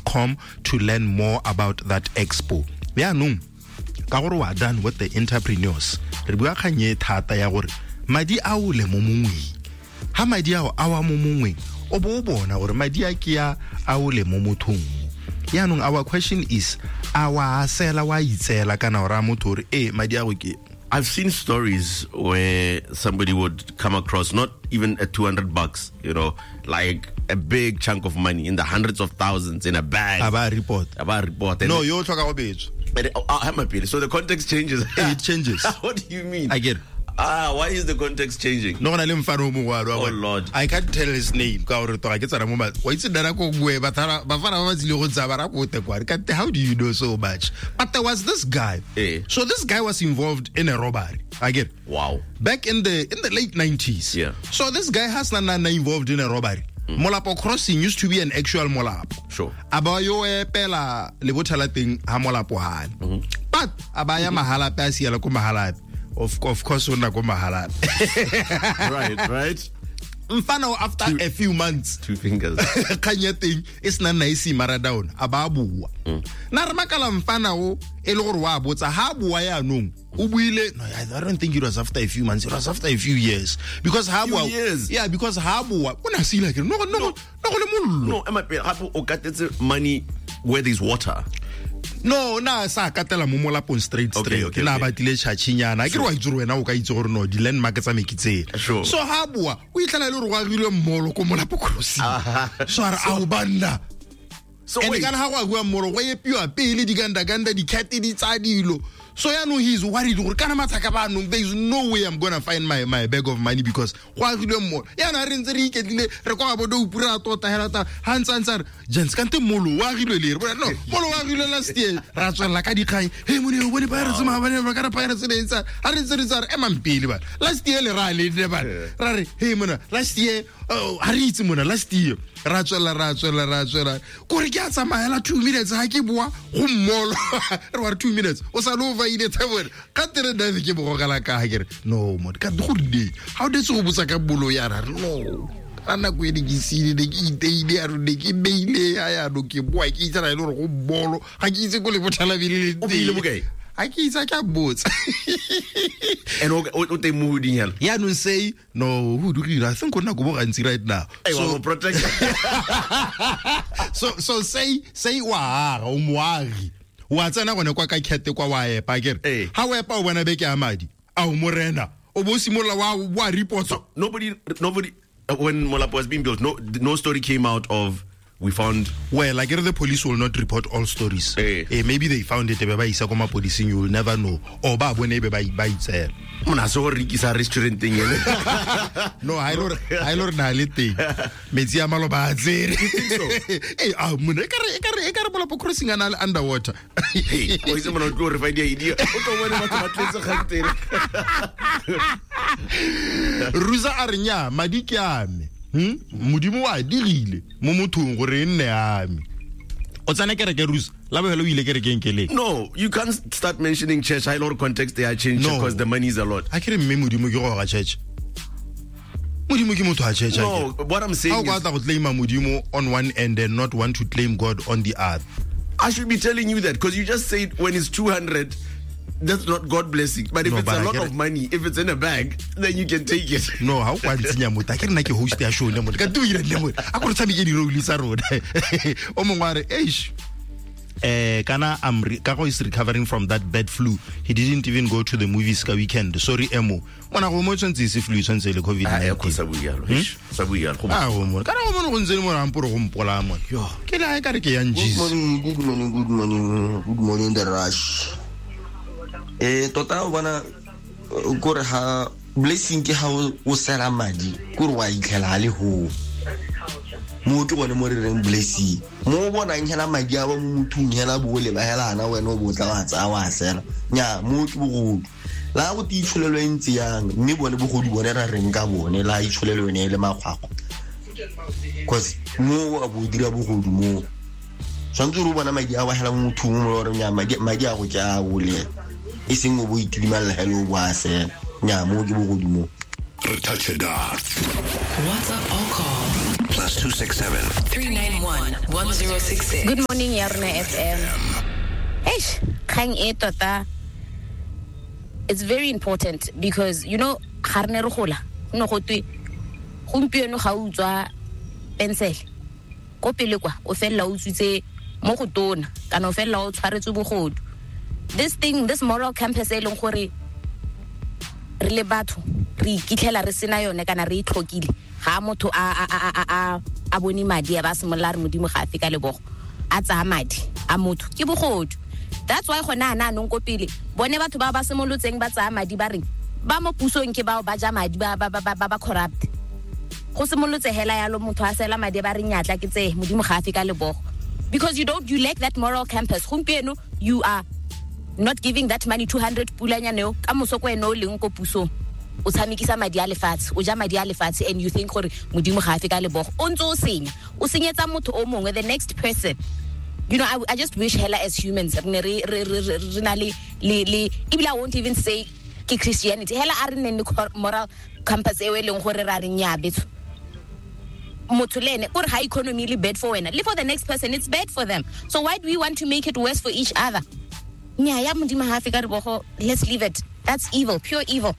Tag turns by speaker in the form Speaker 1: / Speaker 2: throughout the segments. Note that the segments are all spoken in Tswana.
Speaker 1: com to learn more about that expo. Yaanong ka gore wa done with the entrepreneurs, re bua kgang e thata ya gore madi a o le mo mongweng. Ha madi ao a wa mo mongweng, o bo o bona gore madi a ke a a o le mo mothong. Yaanong our question is, a wa a sela wa itseela kana o raya motho gore ee madi a go ke?
Speaker 2: I've seen stories where somebody would come across not even a $200, like a big chunk of money in the hundreds of thousands in a bag.
Speaker 1: A ba report.
Speaker 2: A ba report.
Speaker 1: No, yo tlhoka go betswa.
Speaker 2: And, oh, I'm a So the context changes.
Speaker 1: It changes.
Speaker 2: What do you mean?
Speaker 1: I get it.
Speaker 2: Why is the context changing?
Speaker 1: No, na le mfano o mongwe wa
Speaker 2: Oh, Lord.
Speaker 1: I can't tell his name ka gore toga ke tsena mo wa itse nna nako nngwe bafana ba ba tsile go tsaya ba ra kote kwa. Kante, how do you know so much? But there was this guy. So this guy was involved in a robbery. I get it.
Speaker 2: Wow.
Speaker 1: Back in the late 90s. So this guy has nna involved in a robbery. Molapo Crossing used to be an actual Molapo. A ba yo epela lebotha la teng ha Molapo hane. But a ba ya Mahalapye, a siela ko Mahalapye. Of course, o nna ko Mahalapye.
Speaker 2: Right, right.
Speaker 1: Mfana after a few months,
Speaker 2: Two fingers.
Speaker 1: Kgang ya teng e sena nna e se mara down, a ba bua. Na re makala mfana o e le gore wa botsa ha bua yaanong, o buile, no, I don't think it was after a few months, it was after a few years. Because ha
Speaker 2: Few
Speaker 1: bua,
Speaker 2: years.
Speaker 1: Yeah, because ha bua, o na sila ke re, no, no,
Speaker 2: No.
Speaker 1: no go le mollo.
Speaker 2: No, ema pele, gape o katetse money where there's water.
Speaker 1: No, na sa katela mo molapong straight, straight. Na batlile tšhatšhinyana. A ke re wa itse gore wena o ka itse gore no, di-landmark tsa me ke tsela. So ha bua, o itlhela e le gore go agilwe mmolo ko Molapo Crossing. So a re, ao banna.
Speaker 2: So
Speaker 1: And
Speaker 2: wait.
Speaker 1: kana ha go agiwa mmolo, go epiwa pele digandaganda, di-cat di tsaya dilo. So yaanong he is worried gore kana mathaka ba anong, there is no way I'm going to find my bag of money because go agilwe mmolo. Yaanong ha re ntse re iketlile, re kwa bo dope, re a tota hela ta, ha ntse a ntse a re, gents, kante mmolo o agilwe lere? Bona, no, mmolo o agilwe last year. Ra tswelela ka dikgang. Hey, mone, o bone Pirates maabane, ba ka re Pirates ne e ntse a re, ha re ntse re ntse a re, emang pele bana. Last year le ra le nne bana. Ra re, hey, mona, last year, oh, ha re itse mona, last year. Ra tswelela, ra tswelela, ra tswelela. Kore ke a tsamaela 2 minutes, ha ke boa go mmolo. Re wa re 2 minutes. O sa le o vaile tsa bone. Ka tere nna ke bo gogela ka ha ke re, no, mone, ka go rile. Ha o detse go botsa ka bolo ya ra re, no. Ka nako e ne ke siile, ne ke iteile, a re ne ke beile, a ya no ke boa, ke itse ra e le gore go mmolo. Ga ke itse ko le bothala bele le
Speaker 2: O beile
Speaker 1: teng.
Speaker 2: bokae?
Speaker 1: Ha ke itse, ha ke a botsa.
Speaker 2: And o teng mo hoding hela?
Speaker 1: Yaanong say, no, ho dugile. I think o nna ko bo gantsi right now.
Speaker 2: Hey, wa mo protect.
Speaker 1: So say wa aga, o moagi. Wa tsena gone kwa ka kete kwa wa epa, ke re. Ha o epa o bona beke ya madi, a o morena. O bo simolola wa report.
Speaker 2: So nobody, when Molapo was being built, no story came out of we found.
Speaker 1: Well, I get the police will not report all stories. Maybe they found it, ba isa ko mapolising, you will never know. Or ba bone be ba itseela.
Speaker 2: Mona se go rekisa restaurant teng ene.
Speaker 1: No, ha ile hore na le teng. Metsi a maloba a tsere.
Speaker 2: You think so?
Speaker 1: A mona, e ka re Molapo Crossing a na le underwater.
Speaker 2: Hey, o itse mona o tlo re fa di-idea. O tlo bone batho ba tletse kgantele.
Speaker 1: Ruza a re nya, madi ke a me. Modimo wa dirile mo mothong gore e nne a me. O tsena kereke, Ruza? La bofelo o ile kerekeng ke leng?
Speaker 2: No, you can't start mentioning church. I know context they are changed
Speaker 1: No.
Speaker 2: because the money is a lot.
Speaker 1: A ke re mme Modimo ke go ga church. Modimo ke motho wa church, a
Speaker 2: No,
Speaker 1: ke re.
Speaker 2: what I'm saying
Speaker 1: How
Speaker 2: is
Speaker 1: o batla go claim Modimo on one end and not want to claim God on the other?
Speaker 2: I should be telling you that because you just said when it's 200, that's not God blessing. But if
Speaker 1: No,
Speaker 2: it's
Speaker 1: but
Speaker 2: a
Speaker 1: I
Speaker 2: lot
Speaker 1: get
Speaker 2: of
Speaker 1: it.
Speaker 2: money, if it's in a bag, then you can take it.
Speaker 1: No, how kwa ntsenya motho? A ke re nna ke host ya show ne motho. Ka tu ira le motho. A ko re tshameke di-role tsa rona. O mongwe a re, eish. Kana I'm Kago is recovering from that bad flu. He didn't even go to the movies ka weekend. Sorry, Emo. Mona go mo tshwantse se flu tshwantse le COVID
Speaker 2: Ah,
Speaker 1: nineteen.
Speaker 2: ko sa bua jalo. Eish, sa bua jalo. Go
Speaker 1: Ah, go mo. Kana go mo go ntse le mo ramporo go mpola mo.
Speaker 2: Yo.
Speaker 1: Ke le ha e ka re ke yang
Speaker 3: Good
Speaker 1: Jesus.
Speaker 3: morning, good morning, good morning. Good morning, the rush. Tota o bona, kore ha blessing ke ha o sela madi, kore wa itlhela a le ho. Mo ke gone mo re reng blessing. Mo o bonang hela madi a ba mo mothong hela bo le ba hela ana wena o bo tla wa tsaya wa sela. Nya, mo ke bogodu. La go te itsholelo e ntse yang, mme bone bogodu bone ra reng ka bone, la itsholelo yone e le makgwakgwa. Cause mo a bo dira bogodu mo. Tshwanetse o bona madi a wa hela mo mothong mo re nya, madi a go ke a bole. E seng o bo itidimalela hela o bo a sela. Nya, mo ke bogodu mo.
Speaker 4: Re touch it up.
Speaker 5: WhatsApp or call
Speaker 4: +2 +267
Speaker 5: 391 1066.
Speaker 6: Good morning, Yarona FM. Eish, kgang e tota it's very important because you know ga re ne re gola go ne go twe gompieno ga o utswa pensele ko pele kwa o felela o utswitse mo go tona kana o felela o tshwaretswe bogodu. This thing, this moral compass e leng gore re le batho re ikitlhela re sena yone kana re itlhokile ga motho a bone madi a ba simolola re modimo ga a fe ka lebogo a tsaya madi a motho ke bogodu. That's why gona ana anong ko pele bone batho ba ba simolotseng ba tsaya madi ba reng ba mo pusong ke bao ba ja madi ba ba ba ba corrupt. Go simolotse hela yalo motho a sela madi ba re nyatla ke tse modimo ga a fe ka lebogo, because you lack that moral compass. Gompieno you are not giving that money 200 pulanyane eo ka moso ko ene o leng ko pusong o tshamekisa madi a lefatshe, o ja madi a lefatshe, and you think gore modimo ga a fe ka lebogo. O ntse o senya, o senyetsa motho o mongwe, the next person. You know, I just wish hela as humans re ne re na le ebile I won't even say ke Christianity hela a re nne le moral compass eo e leng gore ra re nya betso motho le ene o re ga economy le bad for wena le for the next person, it's bad for them. So why do we want to make it worse for each other? Nya ya modimo ga a fe ka lebogo, let's leave it. That's evil, pure evil.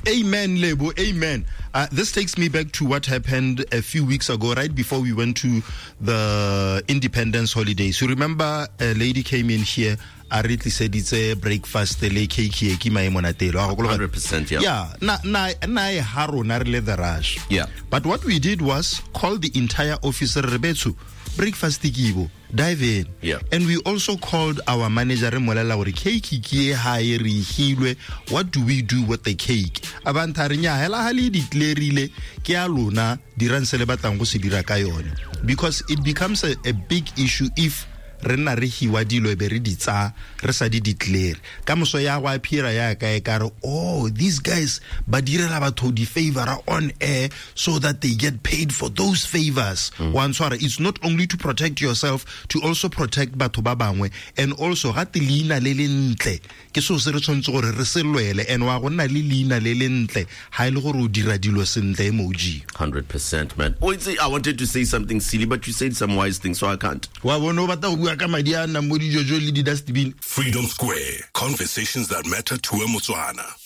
Speaker 1: Amen, Lebo, amen. This takes me back to what happened a few weeks ago, right before we went to the independence holidays. You remember a lady came in here, a re tliseditse breakfast le cake ke maemo natelo.
Speaker 2: 100%, yeah.
Speaker 1: Yeah, na e ha rona re le the rush.
Speaker 2: Yeah.
Speaker 1: But what we did was call the entire office re betso breakfast kibo, dive in.
Speaker 2: Yeah.
Speaker 1: And we also called our manager re molela gore cake ke e ha e re hilwe, what do we do with the cake? Abantha re nya hela ha le declareile ke a lona dirang se le batlang go se dira ka yone, because it becomes a big issue if re nna re hiwa dilo e be re di tsa re sa di declare. Ka moso ya go appear ya ka e ka re, oh, these guys ba direla batho di favor on air so that they get paid for those favors. Wa ntshwara, it's not only to protect yourself, to also protect batho ba bangwe, and also ga te leina le le ntle ke seo se re tshwanetse gore re se lwele, and wa go nna le leina le le ntle ha e le gore o dira dilo sentle emoji.
Speaker 2: 100%, man. Oh, I wanted to say something silly, but you said some wise things, so I can't.
Speaker 1: Wa bona o batla go bua ka madi a nnang mo dijojo le di-dustbin.
Speaker 4: Freedom Square. Conversations that matter to a Motswana.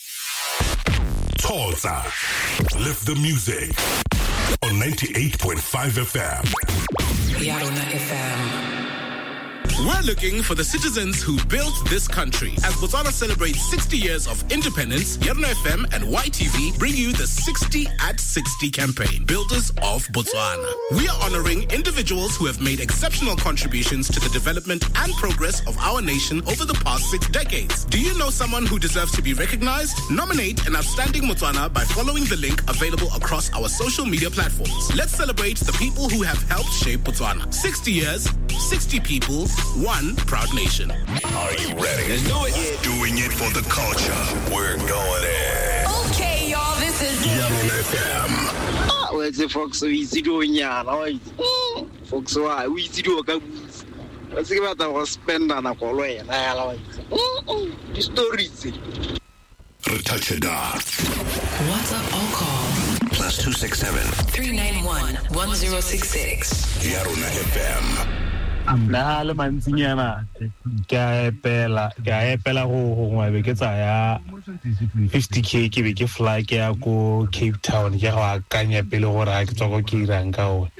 Speaker 4: Tolza. Lift the music. On 98.5 FM.
Speaker 5: Yarona FM.
Speaker 7: We're looking for the citizens who built this country. As Botswana celebrates 60 years of independence, Yarona FM and YTV bring you the 60 at 60 campaign, Builders of Botswana. We are honoring individuals who have made exceptional contributions to the development and progress of our nation over the past 6 decades. Do you know someone who deserves to be recognized? Nominate an outstanding Motswana by following the link available across our social media platforms. Let's celebrate the people who have helped shape Botswana. 60 years, 60 people, one proud nation.
Speaker 4: Are you ready? Let's do it. Yeah. Doing it for the culture. We're going in.
Speaker 5: Okay, y'all, this is
Speaker 4: Yarona FM.
Speaker 8: Ah, what's the Fox? We see doing ya. Fox, why we see do a Let's give out our spend on a call. The stories.
Speaker 4: Retouchada.
Speaker 5: What's up, all call?
Speaker 4: +267
Speaker 5: 391 1066.
Speaker 4: Yarona FM.
Speaker 9: Nna le mantsinyana ke a epela go gongwe be ke tsaya 50k ke be ke fly ke ya ko Cape Town ke go akanya pele gore a ke tswa ko ke irang ka one.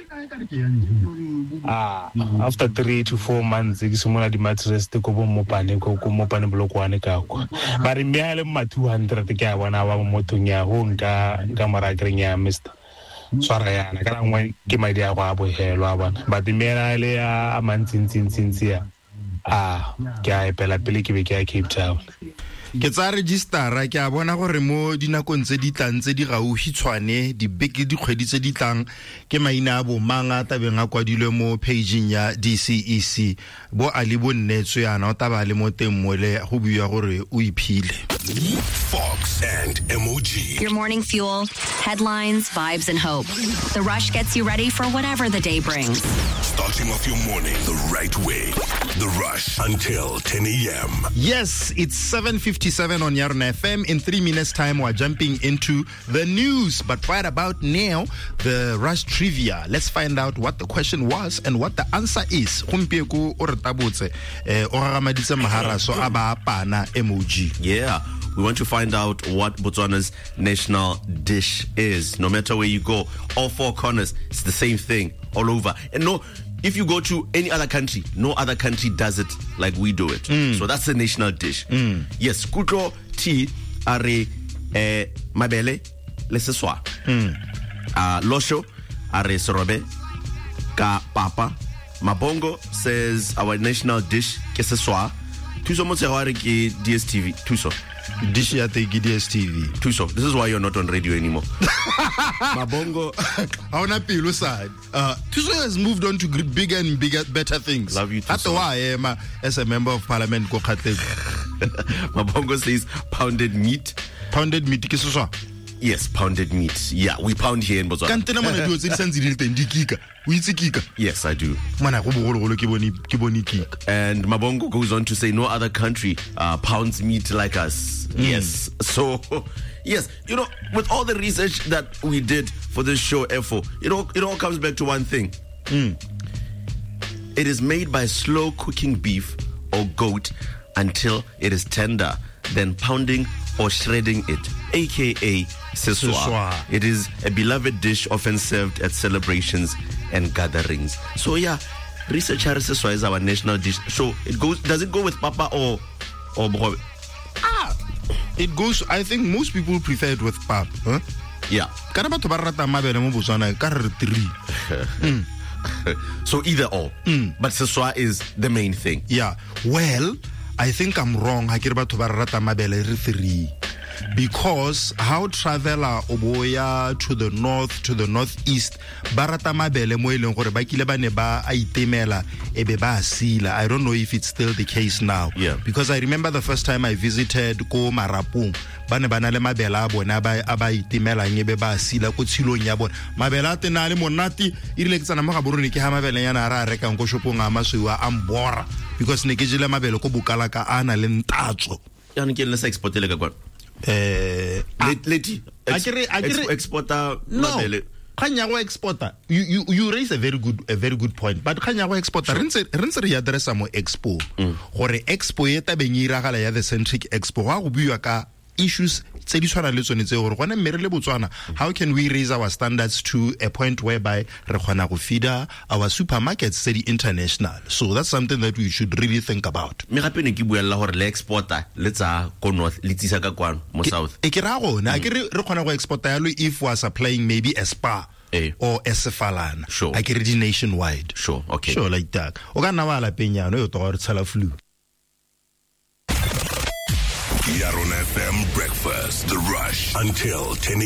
Speaker 9: After 3 to 4 months ke simolola di-mattress ko bo Mopane ko Mopane Polokwane ka kwa ba re mme a le ma 200 ke a bona ba mo mothong ya go nka mora kereng ya mister tshwara yana ka nngwe ke madi a go a bohelwa bona but mme le a mantsintsi ya a ke a epela pele ke be ke ya Cape Town.
Speaker 1: Ke tsa registera ke a bona gore mo dinakong tse di tlang tse di gaufi tshwane dibeke dikgwedi tse di tlang ke maina a bo mang a tabeng a kwadilwe mo pageng ya DCEC bo a le bo nnetswe yana o taba le mo teng mole go buiwa gore o iphile.
Speaker 4: Fox and MOG.
Speaker 10: Your morning fuel, headlines, vibes, and hope. The Rush gets you ready for whatever the day brings.
Speaker 4: Starting off your morning the right way. The The Rush until 10 a.m.
Speaker 1: Yes, it's 7:57 on Yarona FM. In 3 minutes' time, we're jumping into the news. But right about now, the Rush trivia. Let's find out what the question was and what the answer is. Gompieko o re tabotse, o gagamaditse maharaso a ba apana emoji.
Speaker 2: Yeah, we want to find out what Botswana's national dish is. No matter where you go, all four corners, it's the same thing all over. And no, if you go to any other country, no other country does it like we do it. So that's the national dish. Yes, Kutlo T are mabele le seswa. Losho are serobe ka papa. Mabongo says our national dish ke seswa. Thuso Motshego a re ke DSTV. Thuso.
Speaker 1: Dish ya teng ke DSTV.
Speaker 2: Thuso, this is why you're not on radio anymore. Mabongo.
Speaker 1: Ha ona pelo side. Thuso has moved on to bigger and bigger, better things.
Speaker 2: Love you, Thuso.
Speaker 1: Gape wa ema as a member of parliament ko Kgatleng.
Speaker 2: Mabongo says pounded meat.
Speaker 1: Pounded meat ke seswa?
Speaker 2: Yes, pounded meat. Yeah, we pound here in Botswana.
Speaker 1: Kante na mona dilo tse di santse di le teng di kika. O itse kika?
Speaker 2: Yes, I do.
Speaker 1: Mona go bogologolo ke bone kika.
Speaker 2: And Mabongo goes on to say no other country pounds meat like us. Yes. So, yes, you know, with all the research that we did for this show, FO, it all comes back to one thing. It is made by slow cooking beef or goat until it is tender, then pounding or shredding it, aka seswa. It is a beloved dish often served at celebrations and gatherings. So yeah, research seswa is our national dish. So it goes. Does it go with papa or bogobe?
Speaker 1: It goes. I think most people prefer it with pap. Huh?
Speaker 2: Yeah.
Speaker 1: Kana batho ba rata mabele mo Botswana ka re three.
Speaker 2: So either or, but seswa is the main thing.
Speaker 1: Yeah. Well, I think I'm wrong. Ha ke re batho ba rata mabele re three. Because how traveler oboya to the north, to the northeast, ba rata mabele mo e leng gore ba kile ba ne ba a itemela e be ba sila. I don't know if it's still the case now.
Speaker 2: Yeah.
Speaker 1: Because I remember the first time I visited ko Marapong, ba ne ba na le mabele a bona ba itemelang e be ba sila ko tshilong ya bona. Mabele a tena le monate, e rile ke tsana mo Gaborone ke ha mabele yana a re a rekang ko shopong a masweu a mbora, because ne ke jele mabele ko Bokalaka a na le ntatso.
Speaker 2: Yana ke le sa exportele ka kwa. Leti exporter mabele.
Speaker 1: Kgang ya go exporter, you raise a very good point, but kgang ya go exporter re ntse re addressa mo expo gore expo e tabeng e iragala ya the Centric Expo go buiwa ka issues tse di tshwanang le tsone tse gore gone mme re le Botswana, how can we raise our standards to a point whereby re kgona go feeder our supermarkets tse di international? So that's something that we should really think about.
Speaker 2: Mme gape ne ke buella gore le exporter le tsa ko north le tsisa ka kwano mo south.
Speaker 1: E ke ra gone a ke re kgona go exporta yalo if we are supplying maybe a spa or a sefalana.
Speaker 2: Sure.
Speaker 1: A ke re di nationwide.
Speaker 2: Sure, okay.
Speaker 1: Sure, like that. O ka nna wa lapeng yana yo to re tshela flu.
Speaker 4: Yarona FM Breakfast, The Rush, until 10 a.m.